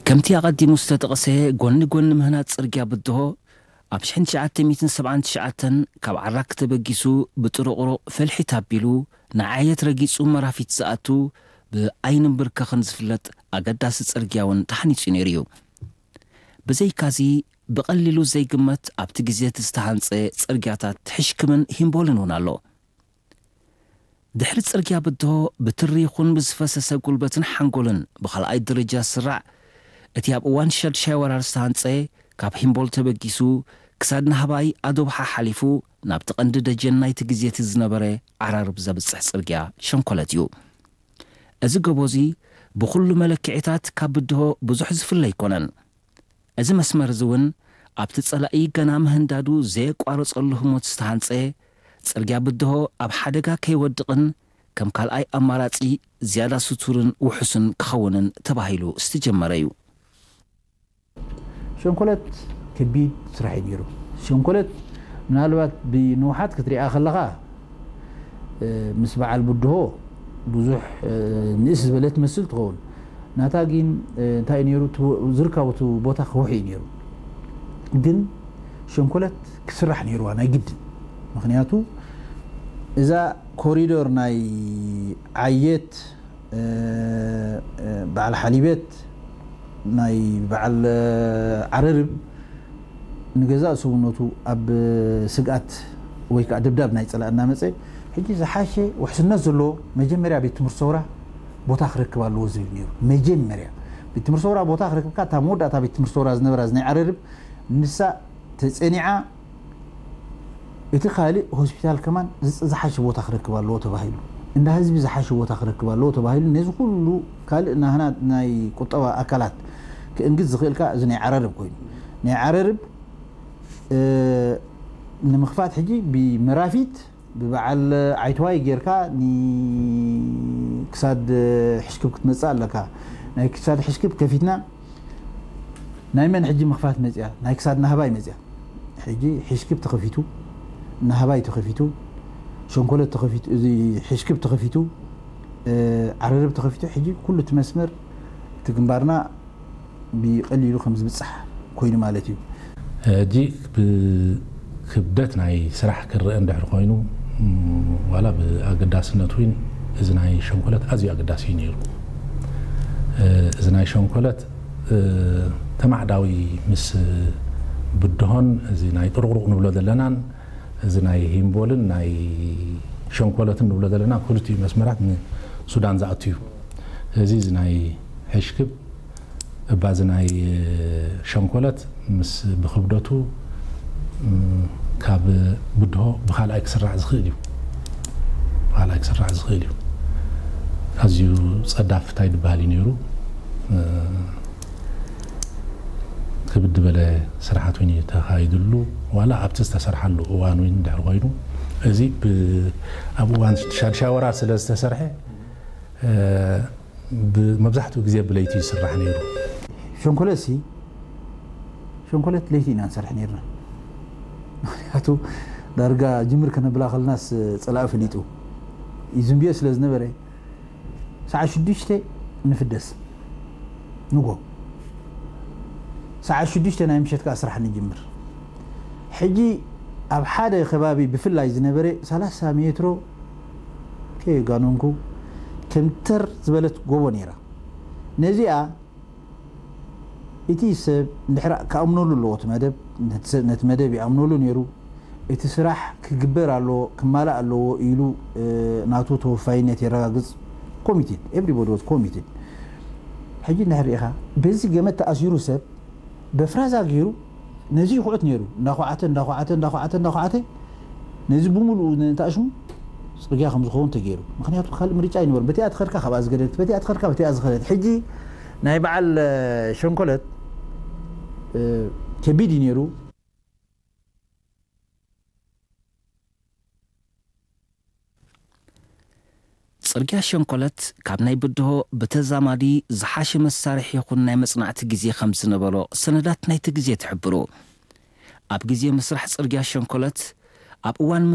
ከምቲ ኣቐዲሙ ዝተጠቕሰ፣ ጎኒ ጎኒ ምህናጽ ጽርግያ ብድሆ፣ ኣብ ሽሕን ትሽዓተ ሚእትን ሰብዓን ትሽዓተን ካብ ዓራክ ተበጊሱ ብጥሩቕሩቕ ፈልሒት ኣቢሉ ንዓየት ረጊጹ መራፊት ዝኣቱ ብኣይንን ብርከኽን ዝፍለጥ ኣገዳሲ ጽርግያ እውን ተሓኒጹ ነይሩ እዩ። ብዘይካዚ ብቐሊሉ ዘይግመት ኣብቲ ግዜ እቲ ዝተሃንጸ ጽርግያታት ሕሽክምን ሂምቦልን እውን ኣሎ። ድሕሪ ጽርግያ ብድሆ ብትሪ ይኹን ብዝፈሰሰ ጉልበትን ሓንጎልን ብኻልኣይ ደረጃ ዝስራዕ፣ እቲ ኣብ እዋን ሻድሻይ ወራር ዝተሃንጸ፣ ካብ ሂምቦል ተበጊሱ ክሳድ ናህባይ ኣዶብሓ ሓሊፉ ናብቲ ቀንዲ ደጀን ናይቲ ግዜ እቲ ዝነበረ ዓራርብ ዘብጽሕ ጽርግያ ሸንኮለት እዩ። እዚ ጎቦ እዚ ብኹሉ መለክዒታት ካብ ብድሆ ብዙሕ ዝፍለ ኣይኮነን። እዚ መስመር እዚ እውን ኣብቲ ጸላኢ ገና ምህንዳዱ ዘየቋረጸሉ ህሞት ዝተሃንጸ ጽርግያ ብድሆ ኣብ ሓደጋ ከይወድቕን ከም ካልኣይ ኣማራጺ ዝያዳ ስቱርን ውሑስን ክኸውንን ተባሂሉ ዝተጀመረ እዩ። ሸንኮለት ከቢድ ስራሕ እዩ ነይሩ። ሸንኮለት ምናልባት ብንውሓት ክትሪኣ ከለኻ፣ እ፣ ምስ በዓል ብድሆ ብዙሕ፣ እ፣ ንእስ ዝበለ ትመስል ትኸውን። ናታ ግን፣ እ፣ እንታይ እዩ ነይሩ? እቲ ዝርከቡ እቲ ቦታ ከውሒ እዩ ነይሩ። ግን ሸንኮለት ክስራሕ ነይርዋ ናይ ግድን። ምኽንያቱ እዛ ኮሪዶር ናይ ዓየት፣ እ፣ እ፣ በዓል ሓሊበት፣ ናይ በዓል፣ እ፣ ዓረርብ ንገዛእ ሰውነቱ ኣብ ስግኣት ወይ ከዓ ደብዳብ ናይ ጸላእ እናመጸ፣ ሕጂ ዝሓሸ ውሕስነት ዘለዎ መጀመርያ ቤት ትምህርቲ ሰውራ ቦታ ክረክብ ኣለዎ ዝብል ነይሩ። መጀመርያ ቤት ትምህርቲ ሰውራ ቦታ ክረክብካ፣ እታ መወዳእታ ቤት ትምህርቲ ሰውራ ዝነበራ እዚ ናይ ዓረርብ ንሳ ተጸኒዓ፣ እቲ ካልእ ሆስፒታል ከማን ዝጽ-፣ ዝሓሸ ቦታ ክረክብ ኣለዎ ተባሂሉ፣ እንዳ ህዝቢ ዝሓሸ ቦታ ክረክብ ኣለዎ ተባሂሉ፣ ነዚ ኩሉ ካልእ ናህና ናይ ቁጠባ ኣካላት ክእንግድ ዝኽእል ከኣ እዚ ናይ ዓረርብ ኮይኑ፣ ናይ ዓረርብ፣ እ፣ ንምኽፋት ሕጂ ብመራፊት ብበዓል ዓይትዋይ ጌርካ ኒ-፣ ክሳድ ሕሽክብ ክትመጽእ ኣለካ። ናይ ክሳድ ሕሽክብ ከፊትና ናይ መን ሕጂ ምኽፋት መጽያ? ናይ ክሳድ ናህባይ መጽያ። ሕጂ ሕሽክብ ተኸፊቱ፣ ናህባይ ተኸፊቱ፣ ሸንኮለት ተኸፊቱ፣ እዚ ሕሽክብ ተኸፊቱ፣ እ፣ ዓረርብ ተኸፊቱ፣ ሕጂ ኩሉ እቲ መስመር እቲ ግንባርና ብቐሊሉ ከም ዝብጻሕ ኮይኑ ማለት እዩ። ሕጂ ብክብደት ናይ ስራሕ ክረአ እንድሕር ኮይኑ፣ ም፣ ዋላ ብኣገዳስነት እውን እዚ ናይ ሸንኮለት ኣዝዩ ኣገዳሲ እዩ ነይሩ። እ፣ እዚ ናይ ሸንኮለት፣ እ፣ ተማዕዳዊ ምስ ብድሆን እዚ ናይ ጥሩቕሩቕ ንብሎ ዘለናን እዚ ናይ ሂምቦልን ናይ ሸንኮለትን ንብሎ ዘለና ክልቲኡ መስመራት ንሱዳን ዝኣቱ እዩ። እዚ እዚ ናይ ሕሽክብ እባ እዚ ናይ ሸንኮለት ምስ ብክብደቱ፣ ም፣ ካብ ብድሆ ብኻልኣይ ክስራዕ ዝኽእል እዩ። ብኻልኣይ ክስራዕ ዝኽእል እዩ። ኣዝዩ ጸዳፍ እንታይ ዝበሃል እዩ ነይሩ። እ፣ ክብድ ዝበለ ስራሓት እውን እዩ ተኻይድሉ። ዋላ ኣብቲ ዝተሰርሓሉ እዋን እውን እንድሕር ኮይኑ፣ እዚ ብ-፣ ኣብ እዋን ሻድሻይ ወራር ስለ ዝተሰርሐ፣ እ፣ ብ-፣ መብዛሕትኡ ግዜ ብለይቲ ይስራሕ ነይሩ። ሸንኮለትሲ፣ ሸንኮለት ለይቲ ኢና ንሰርሕ ነይርና። ምኽንያቱ ዳርጋ ጅምር ከነብላ ከለናስ ጸላኢ ፈሊጡ እዩ ዝንብዮ ስለ ዝነበረ፣ ሰዓት ሽዱሽተ ንፍደስ ንጎ። ሰዓት ሽዱሽተ ናይ ምሸት ከኣ ስራሕ ንጅምር። ሕጂ ኣብ ሓደ ከባቢ ብፍላይ ዝነበረ ሰላሳ ሜትሮ ከየጋነንኩ ከም ተር ዝበለት ጎቦ ነይራ። ነዚኣ እቲ ሰብ እንድሕር ክኣምነሉ ኣለዎ፣ እቲ መደብ፣ ነቲ ሰብ፣ ነቲ መደብ ይኣምነሉ ነይሩ። እቲ ስራሕ ክግበር ኣለዎ፣ ክማላእ ኣለዎ ኢሉ፣ እ፣ ናቱ ተወፋይነት የረጋግጽ። ኮሚትድ፣ everybody was committed። ሕጂ እንድሕር ርኢኻ፣ በዚ ገመድ ተኣሲሩ ሰብ በፍራዛ ገይሩ ነዚ ይኹዕት ነይሩ። እንዳኹዓተ፣ እንዳኹዓተ፣ እንዳኹዓተ፣ እንዳኹዓተ፣ ነዚ ብምሉኡ ነንታእሽሙ ጽርግያ ከም ዝኸውን ተገይሩ። ምኽንያቱ ካልእ ምርጫ ኣይነበሮን። በቲኣ ትኸድካ ካብኣ ዝገደደት፣ በቲኣ ትኸድካ በቲኣ ዝኸደት። ሕጂ ናይ በዓል፣ እ፣ ሸንኮለት፣ እ፣ ከቢድ እዩ ነይሩ። ጽርግያ ሸንኮለት ካብ ናይ ብድሆ ብተዛማዲ ዝሓሸ መሳርሒ ይኹን ናይ መጽናዕቲ ግዜ ከም ዝነበሮ ሰነዳት ናይቲ ግዜ ትሕብሩ። ኣብ ግዜ ምስራሕ ጽርግያ ሸንኮለት፣ ኣብ እዋን